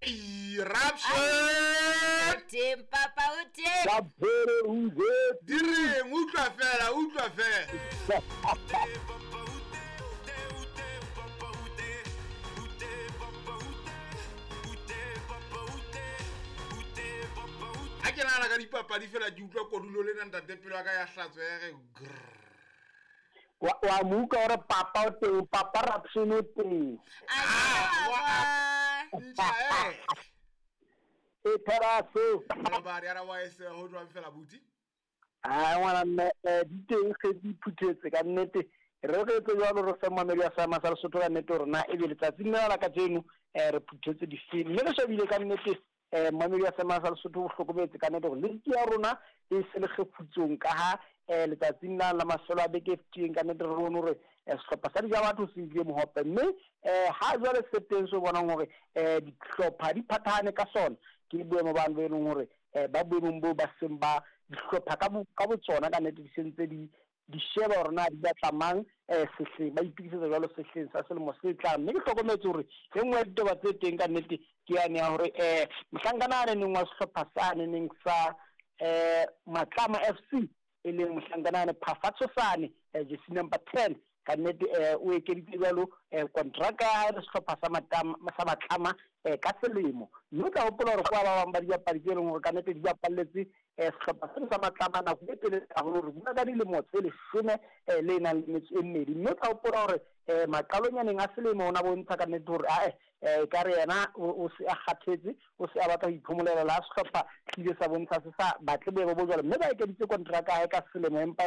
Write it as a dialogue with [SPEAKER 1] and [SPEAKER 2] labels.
[SPEAKER 1] Eruption!
[SPEAKER 2] Teng papa o teng.
[SPEAKER 3] Ka phere uze.
[SPEAKER 1] Di reng utlwa fela utlwa fela. Ha ke nahana ka dipapadi fela ke utlwa kodulo lena ntate pelo ya ka ya hlatswa ya re grrr.
[SPEAKER 3] Wa mo utlwa gore papa o teng, papa Rapson o teng.
[SPEAKER 1] Ah, ntja eh.
[SPEAKER 3] E theraso.
[SPEAKER 1] Malobadi ara wa ese ho jwang fela buti?
[SPEAKER 3] Ah ngwana mme eh, di teng ge di phuthetse ka nnete. Re re etse jwalo re fe mamedi wa seema sa Lesotho ka nnete gore na ebe letsatsing lena la kajeno eh, re phuthetse difeng mme re shebile ka nnete um Mmamedi wa Sema sa Lesotho o hlokometse ka nete gore liki ya rona e se le kgefutsong ka ha um letsatsing la la mafelo a beke e fetileng ka nete re bone gore um sehlopha sa dija batho se ile mohope mme um ha jwale se teng se bonang gore um dihlopha di phathahane ka sona ke boemo bano bo e leng gore um ba boemong boo ba seng ba dihlopha ka botsona ka nete di sentse di di sheba hore na di batla mang eh, sehleng, ba itokisetsa jwalo sehleng sa selemo se tlang. Mme ke hlokometse hore e nngwe ya ditaba tse teng ka nnete ke yane ya hore eh, mohlankana a neneng wa sehlopha sa neneng sa eh, Matlama FC e leng mohlankana ane Phafa Tshosane eh, jersey number 10 ka nnete eh, o ekeditse jwalo eh, kontraka ya hae le sehlopha sa Matama, sa Matlama eh, ka selemo. Mme o tla hopola hore kwa ba bang ba dibapadi tse leng hore ka nnete di bapalletse Eh, sehlopha seno sa Matlama nako e telele haholo, re bua ka dilemo tse leshome eh, le nang le metso e mmedi. Mme o tla hopola hore eh, maqalonyaneng a selemo o na bontsha ka nnete hore ae eh, e ka re yena o se a kgathetse, o se a batla ho iphomolela. La sehlopha se ile sa bontsha se sa batle boemo bo jwalo, mme ba ekeditse kontraka ya hae ka selemo empa